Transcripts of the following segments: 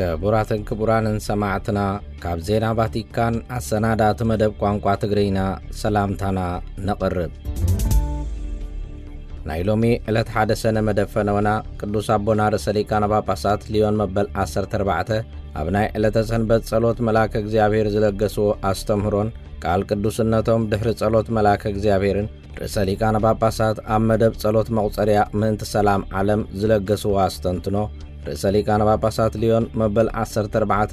ክቡራትን ክቡራንን ሰማዕትና፣ ካብ ዜና ቫቲካን ኣሰናዳእቲ መደብ ቋንቋ ትግርኛ ሰላምታና ነቕርብ። ናይ ሎሚ ዕለት ሓደ ሰነ መደብ ፈነወና ቅዱስ ኣቦና ርእሰ ሊቃነ ጳጳሳት ሊዮን መበል ዓሰርተ ኣርባዕተ ኣብ ናይ ዕለተ ሰንበት ጸሎት መልኣከ እግዚኣብሔር ዝለገስዎ ኣስተምህሮን ቃል ቅዱስነቶም ድሕሪ ጸሎት መልኣከ እግዚኣብሔርን ርእሰ ሊቃነ ጳጳሳት ኣብ መደብ ጸሎት መቑጸርያ ምእንቲ ሰላም ዓለም ዝለገስዎ ኣስተንትኖ፣ ርእሰ ሊቃነ ጳጳሳት ሊዮን መበል ዓሰርተ ኣርባዕተ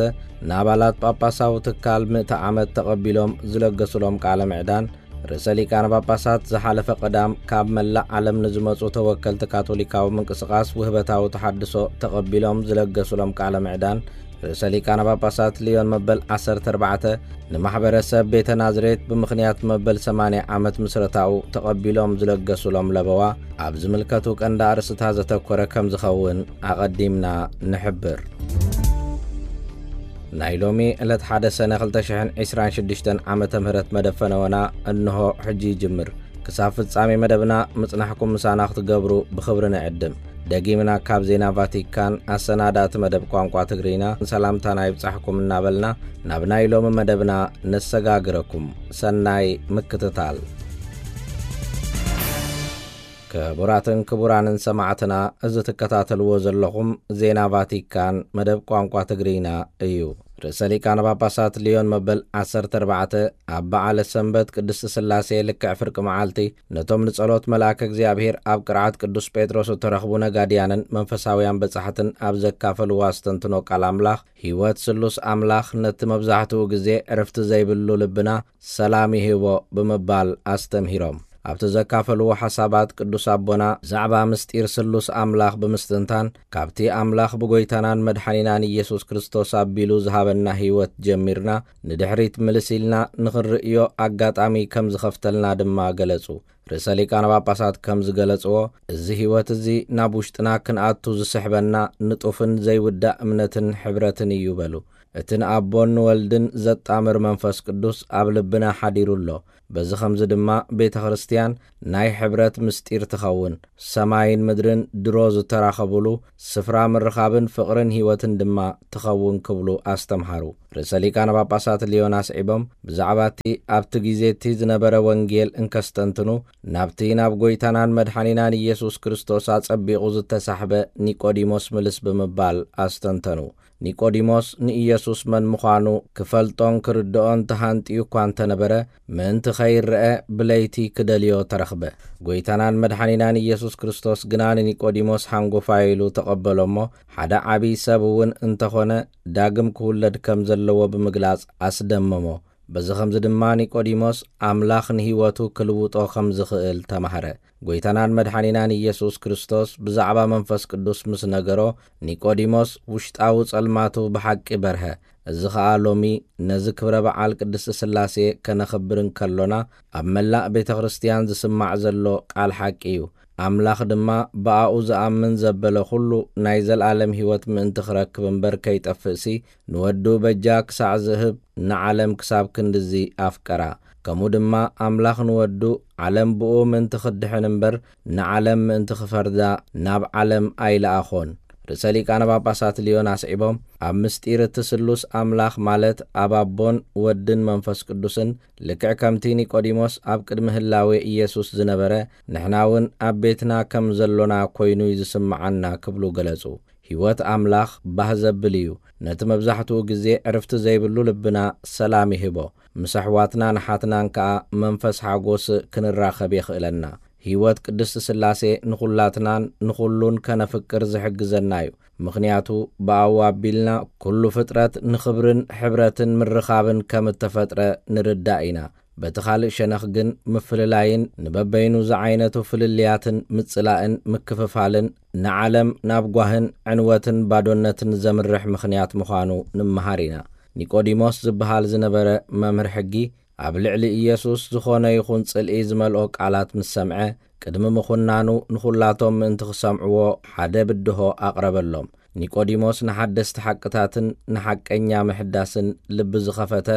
ንኣባላት ጳጳሳዊ ትካል ምእቲ ዓመት ተቐቢሎም ዝለገሱሎም ቃለ ምዕዳን፣ ርእሰ ሊቃነ ጳጳሳት ዝሓለፈ ቀዳም ካብ መላእ ዓለም ንዝመጹ ተወከልቲ ካቶሊካዊ ምንቅስቓስ ውህበታዊ ተሓድሶ ተቐቢሎም ዝለገሱሎም ቃለ ምዕዳን፣ ርእሰ ሊቃነ ጳጳሳት ሊዮን መበል ዓሰርተ ኣርባዕተ ንማሕበረሰብ ቤተ ናዝሬት ብምኽንያት መበል ሰማንያ ዓመት ምስረታኡ ተቐቢሎም ዝለገሱሎም ለበዋ ኣብ ዝምልከቱ ቀንዲ ኣርእስታት ዘተኮረ ከም ዝኸውን ኣቐዲምና ንሕብር። ናይ ሎሚ ዕለት ሓደ ሰነ ክልተ ሽሕን ዕስራን ሽዱሽተን ዓመተ ምህረት መደብ ፈነወና እንሆ ሕጂ ይጅምር። ክሳብ ፍጻሜ መደብና ምጽናሕኩም ምሳና ክትገብሩ ብኽብሪ ንዕድም። ደጊምና ካብ ዜና ቫቲካን ኣሰናዳእቲ መደብ ቋንቋ ትግርኛ ሰላምታና ይብጻሕኩም እናበልና ናብ ናይ ሎሚ መደብና ነሰጋግረኩም። ሰናይ ምክትታል። ክቡራትን ክቡራንን ሰማዕትና፣ እዚ ትከታተልዎ ዘለኹም ዜና ቫቲካን መደብ ቋንቋ ትግርኛ እዩ። ርእሰ ሊቃነ ጳጳሳት ሊዮን መበል ዓሰርተ ኣርባዕተ ኣብ በዓለ ሰንበት ቅድስቲ ሥላሴ ልክዕ ፍርቂ መዓልቲ ነቶም ንጸሎት መልኣከ እግዚኣብሔር ኣብ ቅርዓት ቅዱስ ጴጥሮስ እተረኽቡ ነጋድያንን መንፈሳውያን በጻሕትን ኣብ ዘካፈልዎ ኣስተንትኖ ቃል ኣምላኽ፣ ሕይወት ስሉስ ኣምላኽ ነቲ መብዛሕትኡ ግዜ ዕርፍቲ ዘይብሉ ልብና ሰላም ይህቦ ብምባል ኣስተምሂሮም። ኣብቲ ዘካፈልዎ ሓሳባት ቅዱስ ኣቦና ብዛዕባ ምስጢር ስሉስ ኣምላኽ ብምስትንታን ካብቲ ኣምላኽ ብጎይታናን መድሓኒናን ኢየሱስ ክርስቶስ ኣቢሉ ዝሃበና ሕይወት ጀሚርና ንድሕሪት ምልስ ኢልና ንኽንርእዮ ኣጋጣሚ ከም ዝኸፍተልና ድማ ገለጹ። ርእሰ ሊቃነ ጳጳሳት ከም ዝገለጽዎ፣ እዚ ሕይወት እዚ ናብ ውሽጥና ክንኣቱ ዝስሕበና ንጡፍን ዘይውዳእ እምነትን ሕብረትን እዩ በሉ። እቲ ንኣቦን ንወልድን ዘጣምር መንፈስ ቅዱስ ኣብ ልብና ሓዲሩ ኣሎ። በዚ ኸምዚ ድማ ቤተ ክርስትያን ናይ ሕብረት ምስጢር ትኸውን። ሰማይን ምድርን ድሮ ዝተራኸቡሉ ስፍራ ምርኻብን ፍቕርን ሕይወትን ድማ ትኸውን ክብሉ ኣስተምሃሩ። ርእሰ ሊቃነ ጳጳሳት ሊዮን ኣስዒቦም፣ ብዛዕባ እቲ ኣብቲ ግዜ እቲ ዝነበረ ወንጌል እንከስተንትኑ፣ ናብቲ ናብ ጐይታናን መድሓኒናን ኢየሱስ ክርስቶስ ኣጸቢቑ ዝተሳሕበ ኒቆዲሞስ ምልስ ብምባል ኣስተንተኑ። ኒቆዲሞስ ንኢየሱስ መን ምዃኑ ክፈልጦን ክርድኦን ተሃንጥዩ እኳ እንተነበረ፣ ምእንቲ ኸይረአ ብለይቲ ክደልዮ ተረኽበ። ጐይታናን መድሓኒናን ኢየሱስ ክርስቶስ ግና ንኒቆዲሞስ ሓንጎፋይ ኢሉ ተቐበሎ እሞ፣ ሓደ ዓብዪ ሰብ እውን እንተኾነ ዳግም ክውለድ ከም ዘለዎ ብምግላጽ ኣስደመሞ። በዚ ኸምዚ ድማ ኒቆዲሞስ ኣምላኽ ንህይወቱ ክልውጦ ከም ዝኽእል ተማህረ። ጐይታናን መድሓኒናን ኢየሱስ ክርስቶስ ብዛዕባ መንፈስ ቅዱስ ምስ ነገሮ፣ ኒቆዲሞስ ውሽጣዊ ጸልማቱ ብሓቂ በርሀ። እዚ ኸኣ ሎሚ ነዚ ክብረ በዓል ቅድስቲ ሥላሴ ከነኽብር እንከሎና፣ ኣብ መላእ ቤተ ክርስትያን ዝስማዕ ዘሎ ቃል ሓቂ እዩ። ኣምላኽ ድማ ብኣኡ ዝኣምን ዘበለ ኹሉ ናይ ዘለኣለም ህይወት ምእንቲ ክረክብ እምበር ከይጠፍእሲ፣ ንወዱ በጃ ክሳዕ ዝህብ ንዓለም ክሳብ ክንድዚ ኣፍቀራ። ከምኡ ድማ ኣምላኽ ንወዱ ዓለም ብኡ ምእንቲ ክድሕን እምበር ንዓለም ምእንቲ ክፈርዳ ናብ ዓለም ኣይለኣኾን። ርእሰ ሊቃነ ጳጳሳት ሊዮን ኣስዒቦም፣ ኣብ ምስጢር እቲ ስሉስ ኣምላኽ ማለት ኣብ ኣቦን ወድን መንፈስ ቅዱስን ልክዕ ከምቲ ኒቆዲሞስ ኣብ ቅድሚ ህላዌ ኢየሱስ ዝነበረ፣ ንሕና እውን ኣብ ቤትና ከም ዘሎና ኰይኑ እዩ ዝስምዓና ክብሉ ገለጹ። ህይወት ኣምላኽ ባህ ዘብል እዩ። ነቲ መብዛሕትኡ ግዜ ዕርፍቲ ዘይብሉ ልብና ሰላም ይህቦ። ምስ ኣሕዋትናን ኣሓትናን ከኣ መንፈስ ሓጎስ ክንራኸብ የኽእለና። ህይወት ቅድስቲ ሥላሴ ንኹላትናን ንኹሉን ከነፍቅር ዝሕግዘና እዩ። ምኽንያቱ ብኣኡ ኣቢልና ኩሉ ፍጥረት ንኽብርን ሕብረትን ምርኻብን ከም እተፈጥረ ንርዳእ ኢና። በቲ ካልእ ሸነኽ ግን ምፍልላይን ንበበይኑ ዝዓይነቱ ፍልልያትን ምጽላእን ምክፍፋልን ንዓለም ናብ ጓህን ዕንወትን ባዶነትን ዘምርሕ ምኽንያት ምዃኑ ንምሃር ኢና። ኒቆዲሞስ ዝበሃል ዝነበረ መምህር ሕጊ ኣብ ልዕሊ ኢየሱስ ዝኾነ ይኹን ጽልኢ ዝመልኦ ቃላት ምስ ሰምዐ፣ ቅድሚ ምኹናኑ ንኹላቶም ምእንቲ ክሰምዕዎ ሓደ ብድሆ ኣቕረበሎም። ኒቆዲሞስ ንሓደስቲ ሓቅታትን ንሓቀኛ ምሕዳስን ልቢ ዝኸፈተ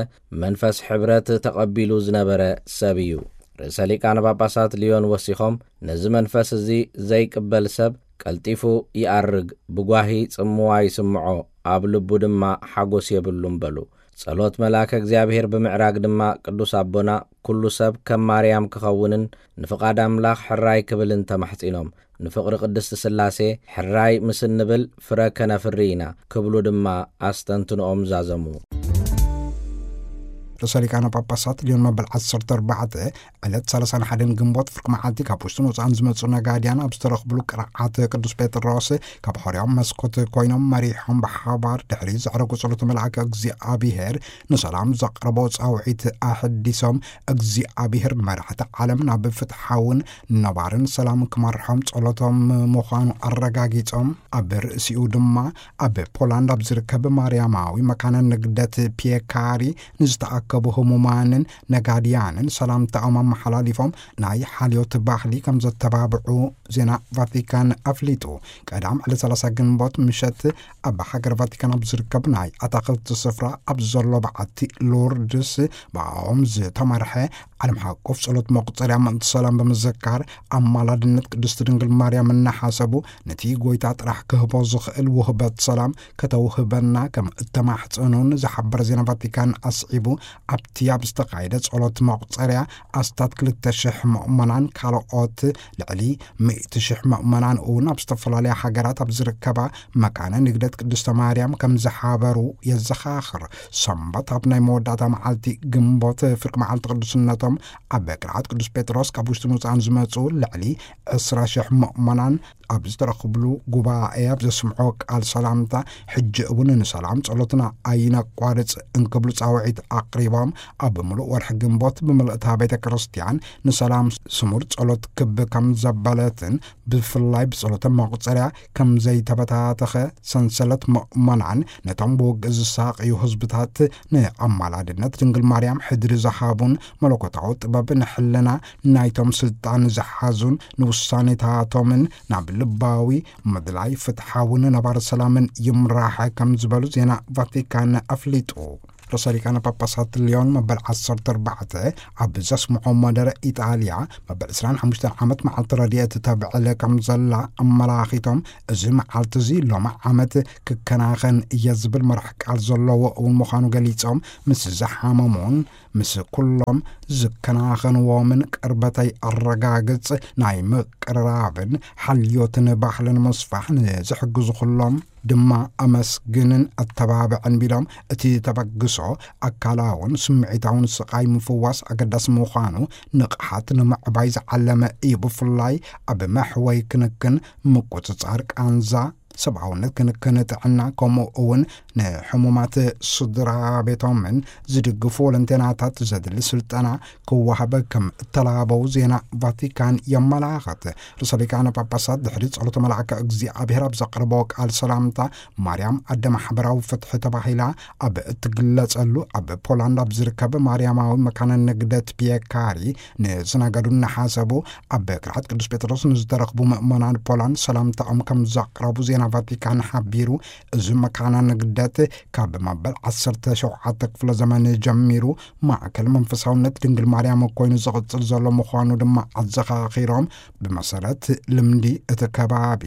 መንፈስ ሕብረት ተቐቢሉ ዝነበረ ሰብ እዩ። ርእሰ ሊቃነ ጳጳሳት ሊዮን ወሲኾም፣ ነዚ መንፈስ እዚ ዘይቅበል ሰብ ቀልጢፉ ይኣርግ፣ ብጓሂ ጽምዋ ይስምዖ፣ ኣብ ልቡ ድማ ሓጎስ የብሉን በሉ። ጸሎት መልኣከ እግዚኣብሔር ብምዕራግ ድማ ቅዱስ ኣቦና ኩሉ ሰብ ከም ማርያም ክኸውንን ንፍቓድ ኣምላኽ ሕራይ ክብልን ተማሕጺኖም። ንፍቕሪ ቅድስቲ ስላሴ ሕራይ ምስ እንብል ፍረ ከነፍሪ ኢና ክብሉ ድማ ኣስተንትንኦም ዛዘሙ። ርእሰ ሊቃነ ጳጳሳት ሊዮን መበል ዓሰርተ ኣርባዕተ ዕለት ሰላሳን ሓደን ግንቦት ፍርቂ መዓልቲ ካብ ውሽጥን ወፃእን ዝመፁ ነጋድያን ኣብ ዝተረኽብሉ ቅርዓት ቅዱስ ጴጥሮስ ካብ ሆርያም መስኮት ኮይኖም መሪሖም ብሓባር ድሕሪ ዘዕረጉ ጸሎት መልኣከ እግዚኣብሔር ንሰላም ዘቕረቦ ጻውዒት ኣሕዲሶም እግዚኣብሔር ንመራሕቲ ዓለም ናብ ፍትሓውን ነባርን ሰላም ክመርሖም ጸሎቶም ምዃኑ ኣረጋጊጾም፣ ኣብ ርእሲኡ ድማ ኣብ ፖላንድ ኣብ ዝርከብ ማርያማዊ መካነ ንግደት ፒየካሪ ንዝተኣከቡ ህሙማንን ነጋድያንን ሰላምታኦም ኣመሓላሊፎም ናይ ሓልዮት ባህሊ ከም ዘተባብዑ ዜና ቫቲካን ኣፍሊጡ። ቀዳም ዕለት ሰላሳ ግንቦት ምሸት ኣብ ሃገር ቫቲካን ኣብ ዝርከብ ናይ ኣታኽልቲ ስፍራ ኣብ ዘሎ በዓቲ ሎርድስ ብኣኦም ዝተመርሐ ዓለም ሓቆፍ ጸሎት መቁጸርያ ምእንቲ ሰላም ብምዝካር ኣማላድነት ቅድስቲ ድንግል ማርያም እናሓሰቡ ነቲ ጎይታ ጥራሕ ክህቦ ዝኽእል ውህበት ሰላም ከተውህበና ከም እተማሕጸኑን ዝሓበረ ዜና ቫቲካን ኣስዒቡ ኣብቲ ኣብ ዝተኻየደ ጸሎት መቁጸርያ ኣስታት ክልተ ሽሕ ምእመናን ካልኦት ልዕሊ ሚእቲ ሽሕ ምእመናን እውን ኣብ ዝተፈላለያ ሃገራት ኣብ ዝርከባ መካነ ንግደት ቅድስተ ማርያም ከም ዝሓበሩ የዘኻኽር። ሰንበት ኣብ ናይ መወዳእታ መዓልቲ ግንቦት ፍርቂ መዓልቲ ቅዱስነቶም ኣብ ቅርዓት ቅዱስ ጴጥሮስ ካብ ውሽጥን ወፃእን ዝመፁ ልዕሊ ዕስራ ሽሕ ምእመናን ኣብ ዝተረኽብሉ ጉባኤ ኣብ ዘስምዖ ቃል ሰላምታ ሕጂ እውን ንሰላም ጸሎትና ኣይነቋርጽ እንክብሉ ጻውዒት ኣቕሪቦም ኣብ ምሉእ ወርሒ ግንቦት ብምልእታ ቤተ ክርስቲያን ንሰላም ስሙር ጸሎት ክብ ከም ዘበለትን ብፍላይ ብጸሎተ መቑጸርያ ከም ዘይተበታተኸ ሰንሰለት ምእመናን ነቶም ብውግእ ዝሳቕዩ ህዝብታት ንኣማላድነት ድንግል ማርያም ሕድሪ ዝሃቡን መለኮታዊ ጥበብ ንሕልና ናይቶም ስልጣን ዝሓዙን ንውሳኔታቶምን ናብ ልባዊ ምድላይ ፍትሓውን ነባር ሰላምን ይምራሕ ከም ዝበሉ ዜና ቫቲካን ኣፍሊጡ። ርእሰ ሊቃነ ጳጳሳት ሊዮን መበል ዓሰርተ ኣርባዕተ ኣብ ዘስምዖ መደረ ኢጣልያ መበል ዕስራን ሓሙሽተን ዓመት መዓልቲ ረድኤት ተብዕል ከም ዘላ ኣመላኺቶም፣ እዚ መዓልቲ እዚ ሎሚ ዓመት ክከናኸን እየ ዝብል መራሕ ቃል ዘለዎ እውን ምዃኑ ገሊጾም፣ ምስ ዝሓመሙን ምስ ኩሎም ዝከናኸንዎምን ቅርበተይ ኣረጋግጽ ናይ ምቅርራብን ሓልዮትን ባህልን ምስፋሕ ንዝሕግዙ ኩሎም ድማ ኣመስግንን ኣተባብዕን ቢሎም፣ እቲ ተበግሶ ኣካላውን ስምዒታውን ስቓይ ምፍዋስ ኣገዳሲ ምዃኑ፣ ንቕሓት ንምዕባይ ዝዓለመ እዩ። ብፍላይ ኣብ መሕወይ ክንክን፣ ምቁጽጻር ቃንዛ፣ ሰብኣውነት ክንክን ጥዕና፣ ከምኡ እውን ንሕሙማት ስድራ ቤቶምን ዝድግፉ ወለንቴናታት ዘድሊ ስልጠና ክወሃበ ከም እተላበው ዜና ቫቲካን የመላኽት። ርእሰ ሊቃነ ጳጳሳት ድሕሪ ጸሎተ መልኣከ እግዚኣብሔር ኣብ ዘቕረቦ ቃል ሰላምታ፣ ማርያም ኣደ ማሕበራዊ ፍትሒ ተባሂላ ኣብ እትግለጸሉ ኣብ ፖላንድ ኣብ ዝርከብ ማርያማዊ መካነ ንግደት ፒየካሪ ንዝነገዱ እናሓሰቡ፣ ኣብ ቅርዓት ቅዱስ ጴጥሮስ ንዝተረኽቡ ምእመናን ፖላንድ ሰላምታኦም ከም ዘቕረቡ ዜና ቫቲካን ሓቢሩ። እዚ መካነ ንግደት ካብ መበል ዓሰርተ ሸውዓተ ክፍለ ዘመን ጀሚሩ ማእከል መንፈሳውነት ድንግል ማርያም ኮይኑ ዝቕጽል ዘሎ ምዃኑ ድማ ኣዘኻኺሮም፣ ብመሰረት ልምዲ እቲ ከባቢ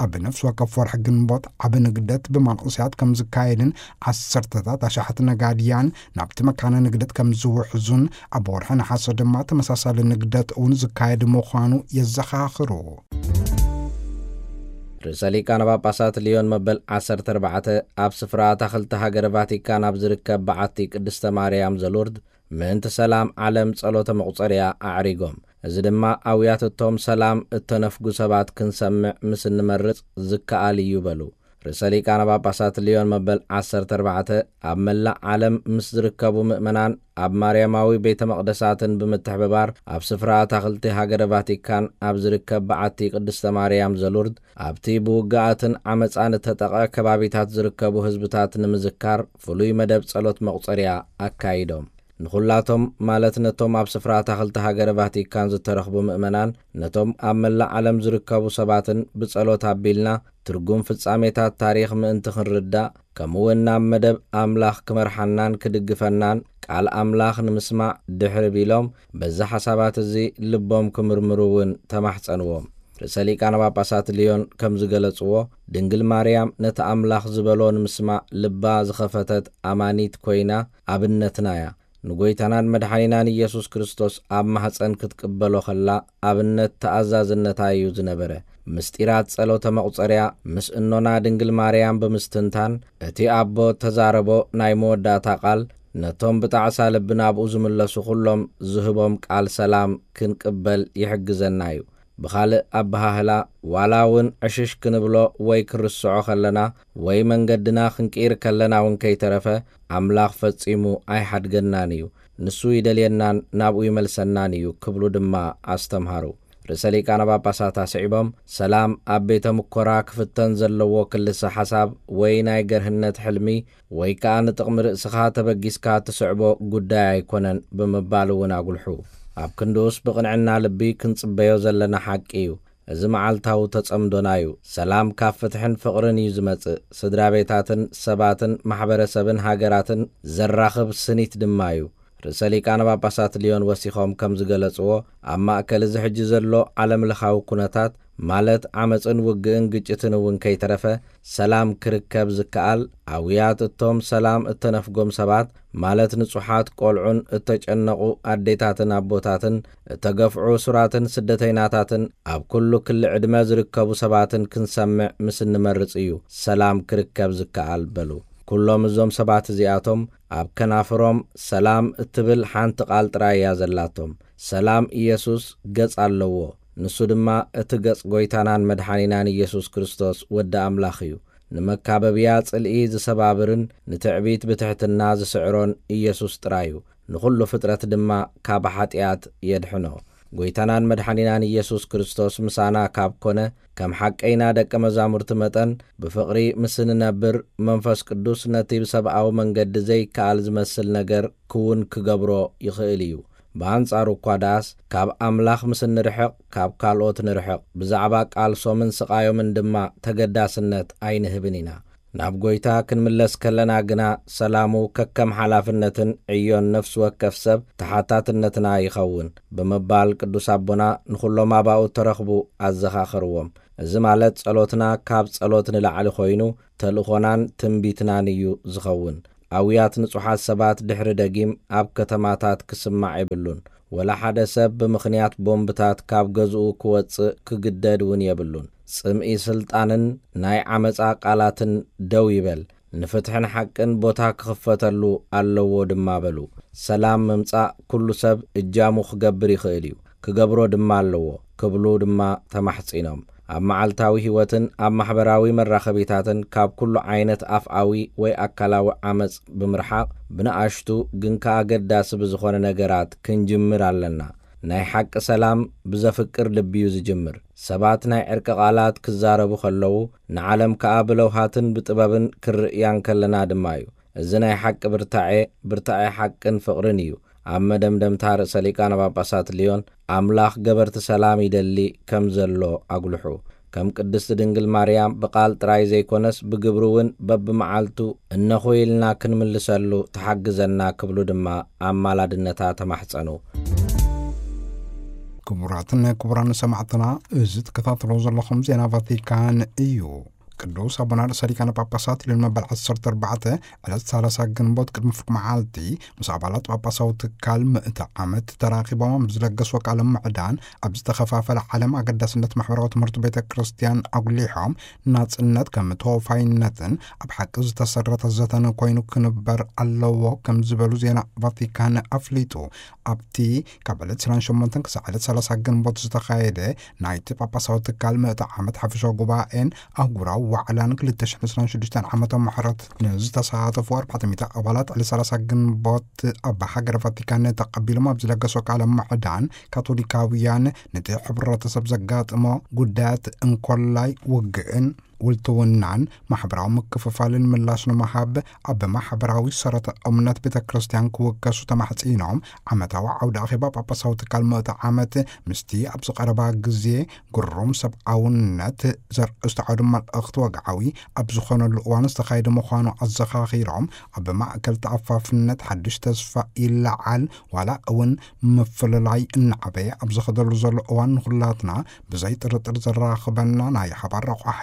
ኣብ ነፍሲ ወከፍ ወርሒ ግንቦት ዓቢ ንግደት ብመንእሰያት ከም ዝካየድን ዓሰርተታት ኣሽሓት ነጋድያን ናብቲ መካነ ንግደት ከም ዝውሕዙን ኣብ ወርሒ ነሓሰ ድማ ተመሳሳሊ ንግደት እውን ዝካየድ ምዃኑ የዘኻኽሩ። ርእሰ ሊቃነ ጳጳሳት ሊዮን መበል ዓሰርተ ኣርባዕተ ኣብ ስፍራ ኣታኽልቲ ሃገረ ቫቲካን ኣብ ዝርከብ በዓቲ ቅድስተ ማርያም ዘሉርድ ምእንቲ ሰላም ዓለም ጸሎተ መቑጸርያ ኣዕሪጎም። እዚ ድማ ኣውያት እቶም ሰላም እተነፍጉ ሰባት ክንሰምዕ ምስ እንመርጽ ዝከኣል እዩ በሉ። ርእሰ ሊቃነ ጳጳሳት ሊዮን መበል ዓሰርተ ኣርባዕተ ኣብ መላእ ዓለም ምስ ዝርከቡ ምእመናን ኣብ ማርያማዊ ቤተ መቕደሳትን ብምትሕብባር ኣብ ስፍራ ኣታኽልቲ ሃገረ ቫቲካን ኣብ ዝርከብ በዓቲ ቅድስተ ማርያም ዘሉርድ ኣብቲ ብውግኣትን ዓመጻን እተጠቕዐ ከባቢታት ዝርከቡ ህዝብታት ንምዝካር ፍሉይ መደብ ጸሎት መቑጸርያ ኣካይዶም። ንኹላቶም ማለት ነቶም ኣብ ስፍራ ኣታኽልቲ ሃገረ ቫቲካን ዝተረኽቡ ምእመናን፣ ነቶም ኣብ መላእ ዓለም ዝርከቡ ሰባትን ብጸሎት ኣቢልና ትርጉም ፍጻሜታት ታሪኽ ምእንቲ ክንርዳእ፣ ከምኡውን ናብ መደብ ኣምላኽ ክመርሓናን ክድግፈናን ቃል ኣምላኽ ንምስማዕ ድሕሪ ቢሎም፣ በዚ ሓሳባት እዚ ልቦም ክምርምሩ እውን ተማሕጸንዎም። ርእሰ ሊቃነ ጳጳሳት ልዮን ከም ዝገለጽዎ፣ ድንግል ማርያም ነቲ ኣምላኽ ዝበሎ ንምስማዕ ልባ ዝኸፈተት ኣማኒት ኮይና ኣብነትና እያ። ንጎይታናን መድሓኒናን ኢየሱስ ክርስቶስ ኣብ ማህፀን ክትቅበሎ ከላ ኣብነት ተኣዛዝነታ እዩ ዝነበረ። ምስጢራት ጸሎተ መቑጸርያ ምስ እኖና ድንግል ማርያም ብምስትንታን፣ እቲ ኣቦ ተዛረቦ ናይ መወዳእታ ቃል ነቶም ብጣዕሳ ልቢ ናብኡ ዝምለሱ ኩሎም ዝህቦም ቃል ሰላም ክንቅበል ይሕግዘና እዩ። ብኻልእ ኣበሃህላ፣ ዋላ እውን ዕሽሽ ክንብሎ ወይ ክርስዖ ከለና ወይ መንገድና ክንቅይር ከለና እውን ከይተረፈ፣ ኣምላኽ ፈጺሙ ኣይሓድገናን እዩ። ንሱ ይደልየናን ናብኡ ይመልሰናን እዩ ክብሉ ድማ ኣስተምሃሩ። ርእሰ ሊቃነ ጳጳሳት ኣስዒቦም፣ ሰላም ኣብ ቤተ ምኮራ ክፍተን ዘለዎ ክልሰ ሓሳብ ወይ ናይ ገርህነት ሕልሚ ወይ ከኣ ንጥቕሚ ርእስኻ ተበጊስካ ትስዕቦ ጉዳይ ኣይኮነን ብምባል እውን ኣጉልሑ። ኣብ ክንድኡስ ብቕንዕና ልቢ ክንጽበዮ ዘለና ሓቂ እዩ። እዚ መዓልታዊ ተጸምዶና እዩ። ሰላም ካብ ፍትሕን ፍቕርን እዩ ዝመጽእ። ስድራ ቤታትን ሰባትን ማሕበረሰብን ሃገራትን ዘራኽብ ስኒት ድማ እዩ። ርእሰ ሊቃነ ጳጳሳት ልዮን ወሲኾም ከም ዝገለጽዎ፣ ኣብ ማእከል እዚ ሕጂ ዘሎ ዓለምለኻዊ ኩነታት፣ ማለት ዓመጽን ውግእን ግጭትን እውን ከይተረፈ፣ ሰላም ክርከብ ዝከኣል፣ ኣውያት እቶም ሰላም እተነፍጎም ሰባት፣ ማለት ንጹሓት ቆልዑን እተጨነቑ ኣዴታትን ኣቦታትን፣ እተገፍዑ እሱራትን ስደተይናታትን፣ ኣብ ኩሉ ክሊ ዕድመ ዝርከቡ ሰባትን ክንሰምዕ ምስ እንመርጽ እዩ ሰላም ክርከብ ዝከኣል በሉ። ኩሎም እዞም ሰባት እዚኣቶም ኣብ ከናፍሮም ሰላም እትብል ሓንቲ ቃል ጥራይ እያ ዘላቶም። ሰላም ኢየሱስ ገጽ ኣለዎ። ንሱ ድማ እቲ ገጽ ጎይታናን መድሓኒናን ኢየሱስ ክርስቶስ ወዲ ኣምላኽ እዩ። ንመካበብያ ጽልኢ ዝሰባብርን ንትዕቢት ብትሕትና ዝስዕሮን ኢየሱስ ጥራይ እዩ። ንኹሉ ፍጥረት ድማ ካብ ሓጢኣት የድሕኖ። ጎይታናን መድሓኒናን ኢየሱስ ክርስቶስ ምሳና ካብ ኮነ፣ ከም ሓቀይና ደቀ መዛሙርቲ መጠን ብፍቕሪ ምስ እንነብር፣ መንፈስ ቅዱስ ነቲ ብሰብኣዊ መንገዲ ዘይከኣል ዝመስል ነገር ክውን ክገብሮ ይኽእል እዩ። ብኣንጻሩ እኳ ደኣስ፣ ካብ ኣምላኽ ምስ እንርሕቕ፣ ካብ ካልኦት ንርሕቕ። ብዛዕባ ቃልሶምን ስቓዮምን ድማ ተገዳስነት ኣይንህብን ኢና። ናብ ጎይታ ክንምለስ ከለና ግና፣ ሰላሙ ከከም ሓላፍነትን ዕዮን ነፍሲ ወከፍ ሰብ ተሓታትነትና ይኸውን ብምባል ቅዱስ ኣቦና ንኹሎም ኣባኡ እተረኽቡ ኣዘኻኸርዎም። እዚ ማለት ጸሎትና ካብ ጸሎት ንላዕሊ ኮይኑ፣ ተልእኾናን ትንቢትናን እዩ ዝኸውን። ኣውያት ንጹሓት ሰባት ድሕሪ ደጊም ኣብ ከተማታት ክስማዕ የብሉን። ወላ ሓደ ሰብ ብምኽንያት ቦምብታት ካብ ገዝኡ ክወጽእ ክግደድ እውን የብሉን። ጽምኢ ስልጣንን ናይ ዓመጻ ቃላትን ደው ይበል፣ ንፍትሕን ሓቅን ቦታ ክኽፈተሉ ኣለዎ ድማ በሉ። ሰላም ምምጻእ ኩሉ ሰብ እጃሙ ክገብር ይኽእል እዩ፣ ክገብሮ ድማ ኣለዎ ክብሉ ድማ ተማሕጺኖም። ኣብ መዓልታዊ ህይወትን ኣብ ማሕበራዊ መራኸቢታትን ካብ ኩሉ ዓይነት ኣፍኣዊ ወይ ኣካላዊ ዓመጽ ብምርሓቕ፣ ብንኣሽቱ ግን ከኣ ኣገዳሲ ብዝኾነ ነገራት ክንጅምር ኣለና። ናይ ሓቂ ሰላም ብዘፍቅር ልቢ እዩ ዝጅምር። ሰባት ናይ ዕርቂ ቃላት ክዛረቡ ከለዉ፣ ንዓለም ከኣ ብለውሃትን ብጥበብን ክርእያ እንከለና ድማ እዩ። እዚ ናይ ሓቂ ብርታዔ፣ ብርታዔ ሓቅን ፍቕርን እዩ። ኣብ መደምደምታ ርእሰ ሊቃነ ጳጳሳት ልዮን፣ ኣምላኽ ገበርቲ ሰላም ይደሊ ከም ዘሎ ኣጉልሑ። ከም ቅድስቲ ድንግል ማርያም ብቓል ጥራይ ዘይኮነስ ብግብሪ እውን በብመዓልቱ እነኾ ኢልና ክንምልሰሉ ትሓግዘና ክብሉ ድማ ኣማላድነታ ተማሕጸኑ። ክቡራትን ክቡራን ሰማዕትና፣ እዚ ትከታተሎ ዘለኹም ዜና ቫቲካን እዩ። ቅዱስ ኣቦና ርእሰ ሊቃነ ጳጳሳት ልዮን መበል ዓሰርተ ኣርባዕተ ዕለት ሰላሳ ግንቦት ቅድሚ ፍርቂ መዓልቲ ምስ ኣባላት ጳጳሳዊ ትካል ምእቲ ዓመት ተራኺቦም ኣብ ዝለገስዎ ቃለ ምዕዳን፣ ኣብ ዝተኸፋፈለ ዓለም ኣገዳስነት ማሕበራዊ ትምህርቲ ቤተ ክርስቲያን ኣጉሊሖም፣ ናጽነት ከም ተወፋይነትን ኣብ ሓቂ ዝተሰረተ ዘተን ኮይኑ ክንበር ኣለዎ ከም ዝበሉ ዜና ቫቲካን ኣፍሊጡ። ኣብቲ ካብ ዕለት ዕስራን ሸሞንተን ክሳዕ ዕለት ሰላሳ ግንቦት ዝተኻየደ ናይቲ ጳጳሳዊ ትካል ምእቲ ዓመት ሓፈሻዊ ጉባኤን ኣህጉራዊ ዋዕላን ክልተ ሽሕን ዕስራን ሽዱሽተን ዓመተ ምሕረት ንዝተሳተፉ ኣርባዕተ ሚእቲ ኣባላት ዕለት ሰላሳ ግንቦት ኣብ ሃገረ ቫቲካን ተቐቢሎም ኣብ ዝለገሶ ቃለ ምዕዳን፣ ካቶሊካውያን ነቲ ሕብረተሰብ ዘጋጥሞ ጉዳያት እንኮላይ ውግእን ውልትውናን ማሕበራዊ ምክፍፋልን ምላሽ ንምሃብ ኣብ ማሕበራዊ ሰረተ እምነት ቤተ ክርስቲያን ክውከሱ ተማሕጺኖም። ዓመታዊ ዓውደ ኣኼባ ጳጳሳዊ ትካል ምእቲ ዓመት ምስቲ ኣብዚ ቀረባ ግዜ ግሩም ሰብኣውነት ዘርእስቲ ዓውደ መልእኽቲ ወግዓዊ ኣብ ዝኾነሉ እዋን ዝተኻየደ ምዃኑ ኣዘኻኺሮም፣ ኣብ ማእከል ተኣፋፍነት ሓድሽ ተስፋ ይለዓል፣ ዋላ እውን ምፍልላይ እናዓበየ ኣብ ዝኸደሉ ዘሎ እዋን ንኹላትና ብዘይ ጥርጥር ዘራኽበና ናይ ሓባር ረቋሒ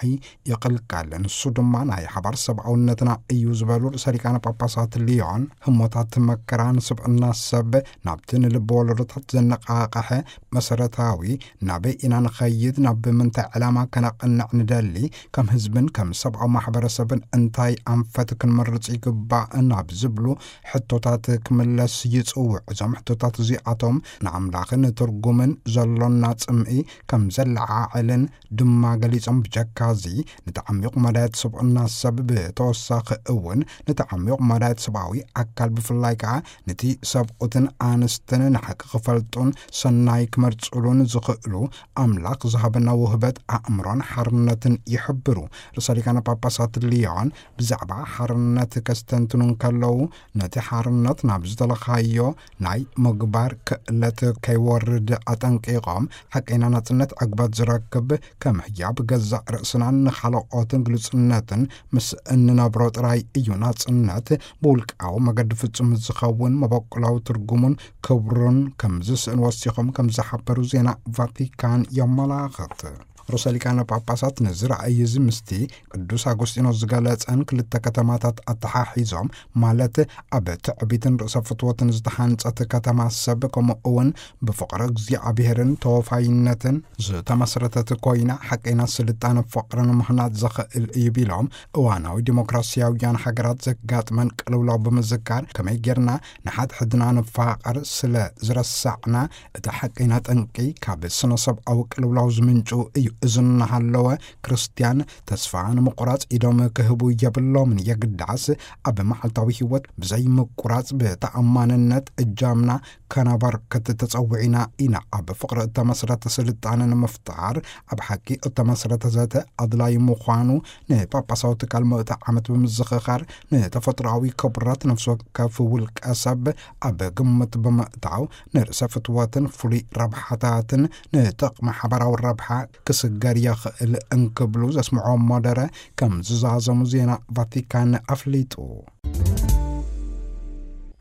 ይቕልቀል። ንሱ ድማ ናይ ሓባር ሰብኣውነትና እዩ ዝበሉ ርእሰ ሊቃነ ጳጳሳት ሊዮን፣ ህሞታት መከራ ንስብዕና ሰብ ናብቲ ንልቢ ወለዶታት ዘነቃቕሐ መሰረታዊ፣ ናበይ ኢና ንኸይድ፣ ናብ ምንታይ ዕላማ ከነቕንዕ ንደሊ፣ ከም ህዝብን ከም ሰብኣዊ ማሕበረሰብን እንታይ ኣንፈት ክንመርጽ ይግባእ ናብ ዝብሉ ሕቶታት ክምለስ ይጽውዕ። እዞም ሕቶታት እዚኣቶም ንኣምላኽን ትርጉምን ዘሎና ጽምኢ ከም ዘለዓዕልን ድማ ገሊጾም፣ ብጀካዚ ንተዓሚቑ መዳየት ስብዕና ሰብ፣ ብተወሳኺ እውን ንተዓሚቑ መዳየት ሰብኣዊ ኣካል፣ ብፍላይ ከኣ ነቲ ሰብኡትን ኣንስትን ንሓቂ ክፈልጡን ሰናይ ክመርጽሉን ዝኽእሉ ኣምላኽ ዝሃበና ውህበት ኣእምሮን ሓርነትን ይሕብሩ። ርእሰ ሊቃነ ጳጳሳት ሊዮን ብዛዕባ ሓርነት ከስተንትኑ እንከለዉ፣ ነቲ ሓርነት ናብ ዝደለኻዮ ናይ ምግባር ክእለት ከይወርድ ኣጠንቂቖም፣ ሓቀይና ናጽነት ዕግበት ዝረክብ ከም ህያብ ገዛእ ርእስናን ንኻልኦትን ግሉጽነትን ምስ እንነብሮ ጥራይ እዩ ናጽነት ብውልቃዊ መገዲ ፍጹም ዝኸውን፣ መበቆላዊ ትርጉሙን ክብሩን ከም ዝስእን ወሲኾም ከም ዝሓበሩ ዜና ቫቲካን የመላኽት። ርእሰ ሊቃነ ጳጳሳት ነዚ ራእይ እዚ ምስቲ ቅዱስ ኣጎስጢኖስ ዝገለጸን ክልተ ከተማታት ኣተሓሒዞም፣ ማለት ኣብ ትዕቢትን ርእሰ ፍትወትን ዝተሃንጸት ከተማ ሰብ፣ ከምኡ እውን ብፍቕሪ እግዚኣብሔርን ተወፋይነትን ዝተመስረተት ኮይና፣ ሓቀይና ስልጣነ ፍቕርን ምህናጽ ዘኽእል እዩ ቢሎም፣ እዋናዊ ዲሞክራሲያውያን ሃገራት ዘጋጥመን ቅልውላው ብምዝካር፣ ከመይ ጌርና ንሓድሕድና ንፋቐር ስለ ዝረሳዕና፣ እቲ ሓቀይና ጠንቂ ካብ ስነ ሰብኣዊ ቅልውላው ዝምንጩ እዩ። እዚ እናሃለወ፣ ክርስትያን ተስፋ ንምቑራጽ ኢዶም ክህቡ የብሎምን። የግዳስ ኣብ መዓልታዊ ህይወት ብዘይ ምቁራጽ ብተኣማንነት እጃምና ከነበርክት ተጸዊዕና ኢና። ኣብ ፍቕሪ እተመስረተ ስልጣነ ንምፍጣር ኣብ ሓቂ እተመስረተ ዘተ ኣድላዪ ምዃኑ ንጳጳሳዊ ትካል ምእቲ ዓመት ብምዝኽኻር፣ ንተፈጥሮኣዊ ክብረት ነፍሲ ወከፍ ውልቀ ሰብ ኣብ ግምት ብምእታው፣ ንርእሰ ፍትወትን ፍሉይ ረብሓታትን ንጥቕሚ ሓባራዊ ረብሓ ክስገር የኽእል እንክብሉ ዘስምዖ መደረ ከም ዝዛዘሙ ዜና ቫቲካን ኣፍሊጡ።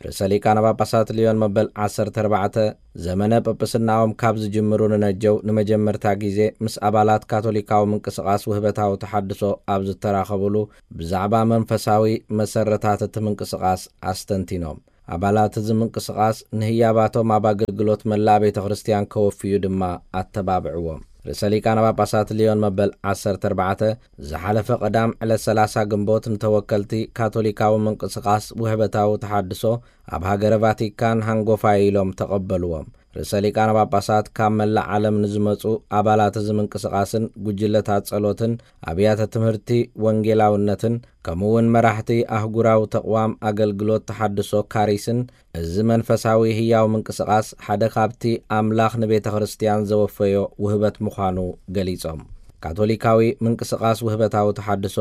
ርእሰ ሊቃነ ጳጳሳት ሊዮን መበል ዓሰርተ ኣርባዕተ ዘመነ ጵጵስናኦም ካብ ዝጅምሩ ንነጀው ንመጀመርታ ግዜ ምስ ኣባላት ካቶሊካዊ ምንቅስቓስ ውህበታዊ ተሓድሶ ኣብ ዝተራኸቡሉ፣ ብዛዕባ መንፈሳዊ መሰረታት እቲ ምንቅስቓስ ኣስተንቲኖም። ኣባላት እዚ ምንቅስቓስ ንህያባቶም ኣብ ኣገልግሎት መላእ ቤተ ክርስቲያን ከወፍዩ ድማ ኣተባብዕዎም። ርእሰ ሊቃነ ጳጳሳት ሊዮን መበል ዓሰርተ ኣርባዕተ ዝሓለፈ ቀዳም ዕለት ሰላሳ ግንቦት ንተወከልቲ ካቶሊካዊ ምንቅስቓስ ውህበታዊ ተሓድሶ ኣብ ሃገረ ቫቲካን ሃንጎፋይ ኢሎም ተቐበልዎም። ርእሰ ሊቃነ ጳጳሳት ካብ መላእ ዓለም ንዝመጹ ኣባላት እዚ ምንቅስቓስን ጉጅለታት ጸሎትን ኣብያተ ትምህርቲ ወንጌላውነትን ከምኡ እውን መራሕቲ ኣህጉራዊ ተቕዋም ኣገልግሎት ተሓድሶ ካሪስን፣ እዚ መንፈሳዊ ህያው ምንቅስቓስ ሓደ ካብቲ ኣምላኽ ንቤተ ክርስቲያን ዘወፈዮ ውህበት ምዃኑ ገሊጾም። ካቶሊካዊ ምንቅስቓስ ውህበታዊ ተሓድሶ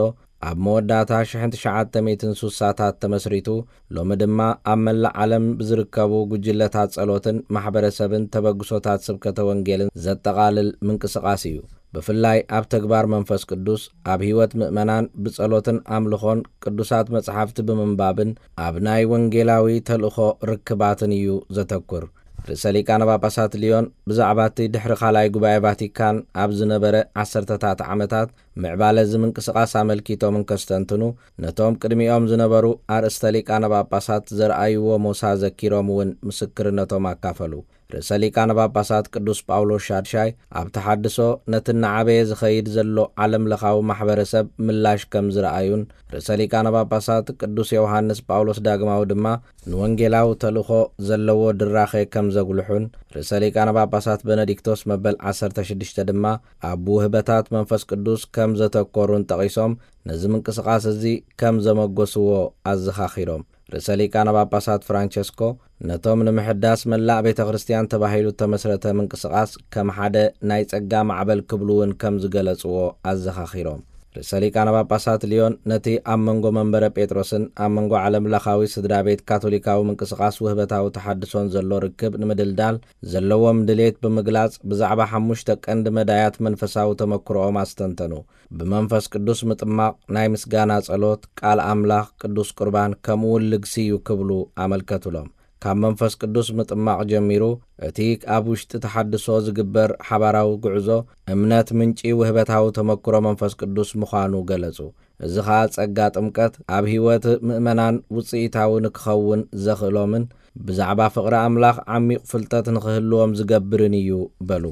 ኣብ መወዳእታ ሽሕን ትሽዓተ ሚእትን ሱሳታት ተመስሪቱ፣ ሎሚ ድማ ኣብ መላእ ዓለም ብዝርከቡ ጉጅለታት ጸሎትን ማሕበረሰብን ተበግሶታት ስብከተ ወንጌልን ዘጠቓልል ምንቅስቓስ እዩ። ብፍላይ ኣብ ተግባር መንፈስ ቅዱስ፣ ኣብ ህይወት ምእመናን ብጸሎትን ኣምልኾን ቅዱሳት መጽሓፍቲ ብምንባብን ኣብ ናይ ወንጌላዊ ተልእኾ ርክባትን እዩ ዘተኩር። ርእሰ ሊቃነ ጳጳሳት ሊዮን ብዛዕባ እቲ ድሕሪ ካልኣይ ጉባኤ ቫቲካን ኣብ ዝነበረ ዓሰርተታት ዓመታት ምዕባለ እዚ ምንቅስቓስ ኣመልኪቶም እንከስተንትኑ፣ ነቶም ቅድሚኦም ዝነበሩ ኣርእስተ ሊቃነ ጳጳሳት ዘርኣይዎ ሞሳ ዘኪሮም እውን ምስክርነቶም ኣካፈሉ። ርእሰ ሊቃነ ጳጳሳት ቅዱስ ጳውሎስ ሻድሻይ ኣብ ተሓድሶ ነቲ እናዓበየ ዝኸይድ ዘሎ ዓለም ለኻዊ ማሕበረሰብ ምላሽ ከም ዝረኣዩን፣ ርእሰ ሊቃነ ጳጳሳት ቅዱስ ዮሃንስ ጳውሎስ ዳግማዊ ድማ ንወንጌላዊ ተልእኾ ዘለዎ ድራኸ ከም ዘጉልሑን፣ ርእሰ ሊቃነ ጳጳሳት በነዲክቶስ መበል ዓሰርተ ሽዱሽተ ድማ ኣብ ውህበታት መንፈስ ቅዱስ ከም ዘተኮሩን ጠቒሶም፣ ነዚ ምንቅስቓስ እዚ ከም ዘመጎስዎ ኣዘኻኺሮም። ርእሰ ሊቃነ ጳጳሳት ፍራንቸስኮ ነቶም ንምሕዳስ መላእ ቤተ ክርስቲያን ተባሂሉ እተመስረተ ምንቅስቓስ ከም ሓደ ናይ ጸጋ ማዕበል ክብሉ እውን ከም ዝገለጽዎ ኣዘኻኺሮም። ርእሰ ሊቃነ ጳጳሳት ልዮን ነቲ ኣብ መንጎ መንበረ ጴጥሮስን ኣብ መንጎ ዓለም ለኻዊ ስድራ ቤት ካቶሊካዊ ምንቅስቓስ ውህበታዊ ተሓድሶን ዘሎ ርክብ ንምድልዳል ዘለዎም ድሌት ብምግላጽ፣ ብዛዕባ ሓሙሽተ ቀንዲ መዳያት መንፈሳዊ ተመክሮኦም ኣስተንተኑ። ብመንፈስ ቅዱስ ምጥማቕ፣ ናይ ምስጋና ጸሎት፣ ቃል ኣምላኽ፣ ቅዱስ ቁርባን፣ ከምኡውን ልግሲ እዩ ክብሉ ኣመልከቱሎም። ካብ መንፈስ ቅዱስ ምጥማቕ ጀሚሩ፣ እቲ ኣብ ውሽጢ ተሓድሶ ዝግበር ሓባራዊ ጉዕዞ፣ እምነት ምንጪ ውህበታዊ ተመክሮ መንፈስ ቅዱስ ምዃኑ ገለጹ። እዚ ኸኣ ጸጋ ጥምቀት ኣብ ህይወት ምእመናን ውጽኢታዊ ንክኸውን ዘኽእሎምን ብዛዕባ ፍቕሪ ኣምላኽ ዓሚቕ ፍልጠት ንኽህልዎም ዝገብርን እዩ በሉ።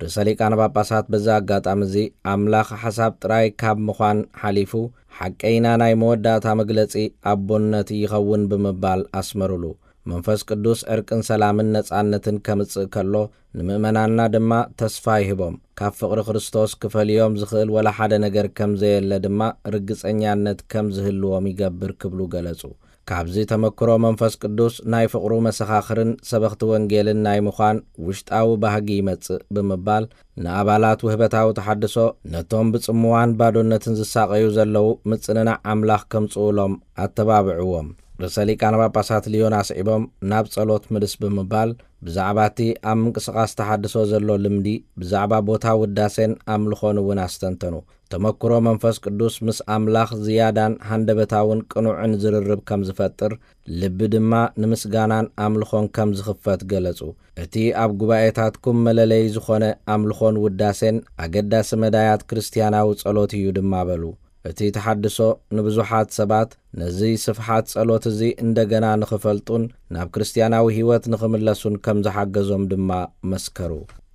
ርእሰ ሊቃነ ጳጳሳት በዚ ኣጋጣሚ እዚ፣ ኣምላኽ ሓሳብ ጥራይ ካብ ምዃን ሓሊፉ፣ ሓቀይና ናይ መወዳእታ መግለጺ ኣቦነት ይኸውን ብምባል ኣስመሩሉ። መንፈስ ቅዱስ ዕርቅን ሰላምን ነጻነትን ከምጽእ ከሎ፣ ንምእመናንና ድማ ተስፋ ይህቦም። ካብ ፍቕሪ ክርስቶስ ክፈልዮም ዝኽእል ወላ ሓደ ነገር ከም ዘየለ ድማ ርግጸኛነት ከም ዝህልዎም ይገብር ክብሉ ገለጹ። ካብዚ ተመክሮ መንፈስ ቅዱስ ናይ ፍቕሩ መሰኻኽርን ሰበኽቲ ወንጌልን ናይ ምዃን ውሽጣዊ ባህጊ ይመጽእ ብምባል፣ ንኣባላት ውህበታዊ ተሓድሶ፣ ነቶም ብጽምዋን ባዶነትን ዝሳቐዩ ዘለዉ ምጽንናዕ ኣምላኽ ከምጽኡሎም ኣተባብዕዎም። ርእሰ ሊቃነ ጳጳሳት ልዮን ኣስዒቦም፣ ናብ ጸሎት ምልስ ብምባል፣ ብዛዕባ እቲ ኣብ ምንቅስቓስ ተሓድሶ ዘሎ ልምዲ፣ ብዛዕባ ቦታ ውዳሴን ኣምልኾን እውን ኣስተንተኑ። ተመክሮ መንፈስ ቅዱስ ምስ ኣምላኽ ዝያዳን ሃንደበታውን ቅኑዕን ዝርርብ ከም ዝፈጥር፣ ልቢ ድማ ንምስጋናን ኣምልኾን ከም ዝኽፈት ገለጹ። እቲ ኣብ ጉባኤታትኩም መለለዪ ዝኾነ ኣምልኾን ውዳሴን ኣገዳሲ መዳያት ክርስትያናዊ ጸሎት እዩ ድማ በሉ። እቲ ተሓድሶ ንብዙሓት ሰባት ነዚ ስፍሓት ጸሎት እዚ እንደገና ንኽፈልጡን ናብ ክርስትያናዊ ህይወት ንኽምለሱን ከም ዝሓገዞም ድማ መስከሩ።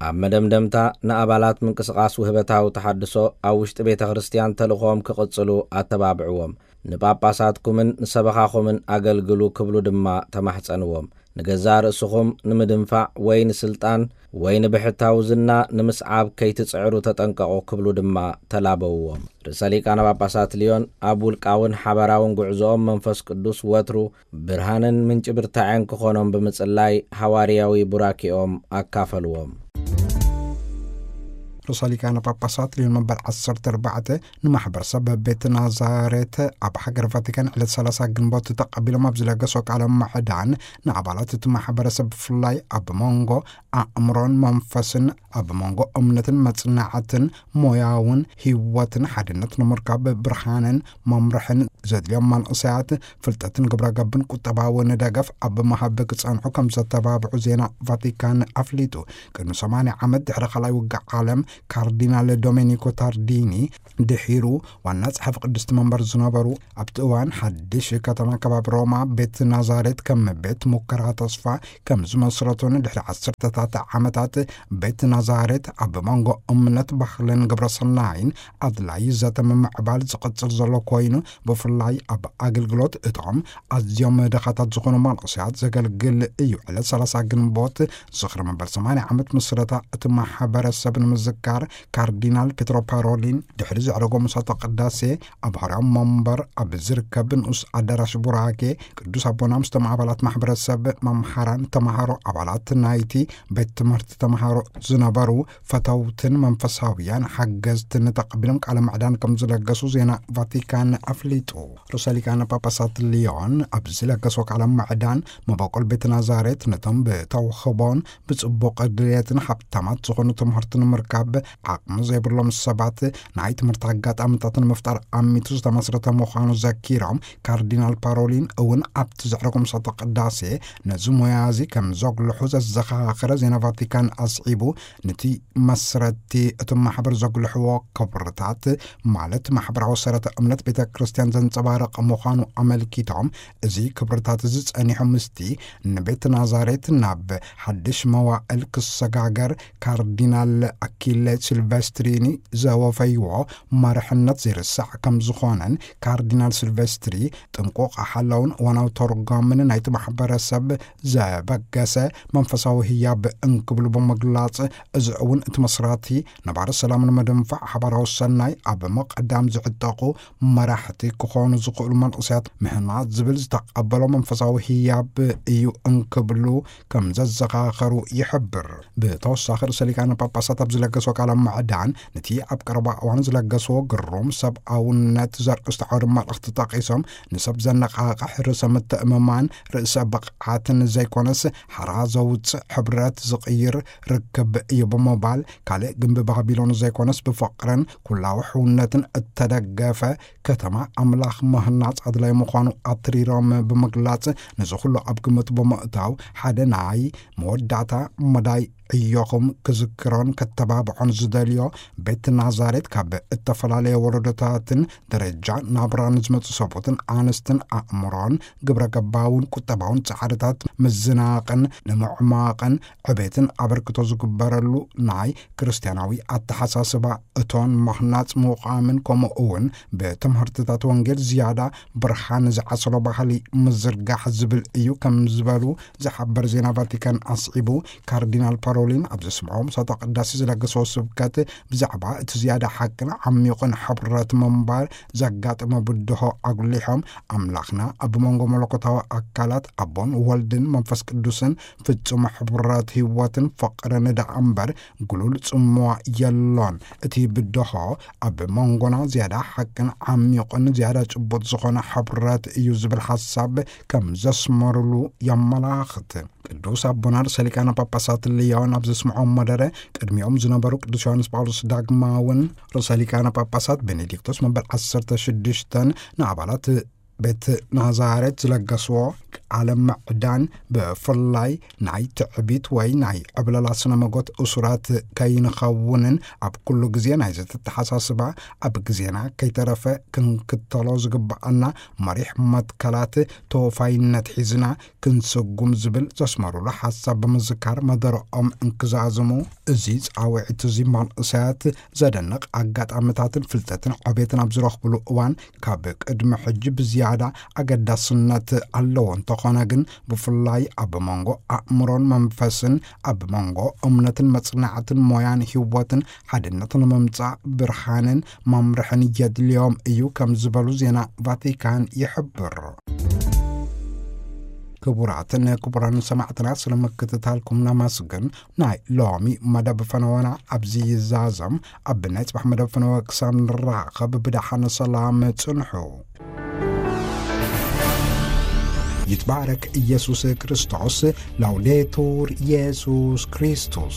ኣብ መደምደምታ፣ ንኣባላት ምንቅስቓስ ውህበታዊ ተሓድሶ ኣብ ውሽጢ ቤተ ክርስትያን ተልእኾኦም ክቕጽሉ ኣተባብዕዎም። ንጳጳሳትኩምን ንሰበኻኹምን ኣገልግሉ ክብሉ ድማ ተማሕጸንዎም። ንገዛእ ርእስኹም ንምድንፋዕ ወይ ንስልጣን ወይ ንብሕታዊ ዝና ንምስዓብ ከይትጽዕሩ ተጠንቀቑ ክብሉ ድማ ተላበውዎም። ርእሰ ሊቃነ ጳጳሳት ልዮን ኣብ ውልቃውን ሓባራውን ጉዕዞኦም መንፈስ ቅዱስ ወትሩ ብርሃንን ምንጪ ብርታዐን ክኾኖም ብምጽላይ ሓዋርያዊ ቡራኬኦም ኣካፈልዎም። ርእሰ ሊቃነ ጳጳሳት ልዮን መበል ዓሰርተ ኣርባዕተ ንማሕበረሰብ ቤት ናዛሬት ኣብ ሃገር ቫቲካን ዕለት ሰላሳ ግንቦት ተቐቢሎም ኣብ ዝለገሶ ቃለ ምዕዳን፣ ንኣባላት እቲ ማሕበረሰብ ብፍላይ ኣብ መንጎ ኣእምሮን መንፈስን፣ ኣብ መንጎ እምነትን መጽናዕትን፣ ሞያውን ህይወትን ሓድነት ንምርካብ ብርሃንን መምርሕን ዘድልዮም መንእሰያት ፍልጠትን ግብረ ገብን ቁጠባውን ደገፍ ኣብ ምሃብ ክጸንሑ ከም ዘተባብዑ ዜና ቫቲካን ኣፍሊጡ። ቅድሚ ሰማንያ ዓመት ድሕሪ ካልኣይ ውግእ ዓለም ካርዲናል ዶሜኒኮ ታርዲኒ ድሒሩ ዋና ጸሓፊ ቅድስቲ መንበር ዝነበሩ፣ ኣብቲ እዋን ሓድሽ ከተማ ከባቢ ሮማ ቤት ናዛሬት ከም ቤት ሙከራ ተስፋ ከም ዝመስረቱን ድሕሪ ዓሰርተታት ዓመታት ቤት ናዛሬት ኣብ መንጎ እምነት፣ ባህልን ግብረ ሰናይን ኣድላይ ዘተ ምምዕባል ዝቕጽል ዘሎ ኮይኑ፣ ብፍላይ ኣብ ኣገልግሎት እቶም ኣዝዮም ድኻታት ዝኾኑ መንእሰያት ዘገልግል እዩ። ዕለት ሰላሳ ግንቦት ዝኽሪ መበል ሰማንያ ዓመት ምስረታ እቲ ማሕበረሰብ ንምዝካር፣ ካርዲናል ፔትሮ ፓሮሊን ድሕሪ ዘዕረጎ ምሳተ ቅዳሴ ኣብ ሃርያም መንበር ኣብ ዝርከብ ንኡስ ኣዳራሽ ቡራኬ፣ ቅዱስ ኣቦና ምስቶም ኣባላት ማሕበረሰብ፣ መምሃራን፣ ተምሃሮ፣ ኣባላት ናይቲ ቤት ትምህርቲ ተምሃሮ ዝነበሩ ፈተውትን መንፈሳውያን ሓገዝትን ተቐቢሎም ቃለ ምዕዳን ከም ዝለገሱ ዜና ቫቲካን ኣፍሊጡ። ርእሰ ሊቃነ ጳጳሳት ሊዮን ኣብ ዝለገሶ ቃለ ምዕዳን፣ መበቆል ቤት ናዛሬት ነቶም ብተውህቦን ብጽቡቕ ድልየትን ሃብታማት ዝኾኑ ትምህርቲ ንምርካብ ዓቕሚ ዘይብሎም ሰባት ናይ ትምህርቲ ኣጋጣሚታት ንምፍጣር ኣሚቱ ዝተመስረተ ምዃኑ ዘኪሮም፣ ካርዲናል ፓሮሊን እውን ኣብቲ ዘዕረጎ ምሳተ ቅዳሴ ነዚ ሞያ እዚ ከም ዘጉልሑ ዘዘኻኸረ ዜና ቫቲካን ኣስዒቡ፣ ነቲ መስረቲ እቲ ማሕበር ዘጉልሕዎ ክብርታት፣ ማለት ማሕበራዊ ሰረተ እምነት ቤተ ክርስቲያን ዘንጸባርቕ ምዃኑ ኣመልኪቶም፣ እዚ ክብርታት እዚ ጸኒሑ ምስቲ ንቤት ናዛሬት ናብ ሓድሽ መዋእል ክሰጋገር ካርዲናል ኣኪለ ሲልቨስትሪኒ ዘወፈይዎ መርሕነት ዘይርሳዕ ከም ዝኾነን፣ ካርዲናል ሲልቨስትሪ ጥንቁቕ ሓላውን እዋናዊ ተርጓምን ናይቲ ማሕበረሰብ ዘበገሰ መንፈሳዊ ህያብ እንክብሉ ብምግላጽ፣ እዚ እውን እቲ መስራቲ ነባሪ ሰላም ንምድንፋዕ ሓባራዊ ሰናይ ኣብ ምቕዳም ዝዕጠቑ መራሕቲ ክኾኑ ዝኽእሉ መንእሰያት ምህናጽ ዝብል ዝተቐበሎ መንፈሳዊ ህያብ እዩ እንክብሉ ከም ዘዘኻኸሩ ይሕብር። ብተወሳኺ ርእሰ ሊቃነ ጳጳሳት ኣብ ዝለገሶ ቃለ ምዕዳን፣ ነቲ ኣብ ቀረባ እዋን ዝለገስዎ ግሩም ሰብኣውነት ዘርእስቲ ዓውደ መልእኽቲ ጠቒሶም፣ ንሰብ ዘነቓቕሕ ርእሰ ምትእምማን፣ ርእሰ ብቕዓትን ዘይኮነስ፣ ሓራ ዘውፅእ ሕብረት ዝቕይር ርክብ እዩ ብምባል፣ ካልእ ግንቢ ባቢሎን ዘይኮነስ፣ ብፍቕርን ኩላዊ ሕውነትን እተደገፈ ከተማ ኣምላኽ ምህናጽ ኣድላይ ምዃኑ ኣትሪሮም ብምግላጽ፣ ነዚ ኩሉ ኣብ ግምት ብምእታው፣ ሓደ ናይ መወዳእታ መዳይ ዕዮኹም ክዝክሮን ከተባብዖን ዝደልዮ፣ ቤት ናዛሬት ካብ እተፈላለየ ወረዶታትን ደረጃ ናብራን ዝመጹ ሰብኡትን ኣንስትን ኣእምሮን ግብረ ገባውን ቁጠባውን ጻዕርታት ምዝናቕን ንምዕማቕን ዕቤትን ኣበርክቶ ዝግበረሉ ናይ ክርስትያናዊ ኣተሓሳስባ እቶን ምህናጽ ምዃምን፣ ከምኡ እውን ብትምህርትታት ወንጌል ዝያዳ ብርሃን ዝዓሰሎ ባህሊ ምዝርጋሕ ዝብል እዩ ከም ዝበሉ ዝሓበር ዜና ቫቲካን ኣስዒቡ፣ ካርዲናል ፓሮሊን ኣብ ዘስምዖ ምሳተ ቅዳሴ ዝለገስዎ ስብከት፣ ብዛዕባ እቲ ዝያዳ ሓቅን ዓሚቑን ሕብረት ምንባር ዘጋጠመ ብድሆ ኣጉሊሖም፣ ኣምላኽና ኣብ መንጎ መለኮታዊ ኣካላት ኣቦን ወልድን መንፈስ ቅዱስን ፍጹም ሕብረት ህይወትን ፍቕርን ደኣ እምበር ግሉል ጽምዋ የሎን። እቲ ብድሆ ኣብ መንጎና ዝያዳ ሓቅን ዓሚቑን ዝያዳ ጭቡጥ ዝኾነ ሕብረት እዩ ዝብል ሓሳብ ከም ዘስመሩሉ የመላኽት። ቅዱስ ኣቦና ርእሰ ሊቃነ ጳጳሳት ልዮን ኣብ ዘስምዖ መደረ፣ ቅድሚኦም ዝነበሩ ቅዱስ ዮሃንስ ጳውሎስ ዳግማውን ርእሰ ሊቃነ ጳጳሳት ቤኔዲክቶስ መበል ዓሰርተ ሽዱሽተን ንኣባላት ቤት ናዛሬት ዝለገስዎ ቃለ ምዕዳን፣ ብፍላይ ናይ ትዕቢት ወይ ናይ ዕብለላ ስነ መጎት እሱራት ከይንኸውንን፣ ኣብ ኩሉ ግዜ ናይ ዘተተሓሳስባ ኣብ ግዜና ከይተረፈ ክንክተሎ ዝግብኣና መሪሕ መትከላት ተወፋይነት ሒዝና ክንስጉም ዝብል ዘስመሩሉ ሓሳብ ብምዝካር መደረኦም እንክዛዝሙ፣ እዚ ጻውዒት እዚ መንእሰያት ዘደንቕ ኣጋጣሚታትን ፍልጠትን ዕቤትን ኣብ ዝረኽብሉ እዋን ካብ ቅድሚ ሕጂ ብዝያዳ ኣገዳስነት ኣለዎ። እንተኾነ ግን ብፍላይ ኣብ መንጎ ኣእምሮን መንፈስን፣ ኣብ መንጎ እምነትን መጽናዕትን ሞያን ህይወትን ሓድነት ንምምጻእ ብርሃንን መምርሕን የድልዮም እዩ ከም ዝበሉ ዜና ቫቲካን ይሕብር። ክቡራትን ክቡራን ሰማዕትና፣ ስለ ምክትታልኩም ነመስግን። ናይ ሎሚ መደብ ፈነወና ኣብዚ ይዛዘም። ኣብ ናይ ጽባሕ መደብ ፈነወ ክሳብ ንራኸብ ብደሓን ሰላም ጽንሑ። ይትባረክ ኢየሱስ ክርስቶስ። ላውዴቱር ኢየሱስ ክርስቶስ።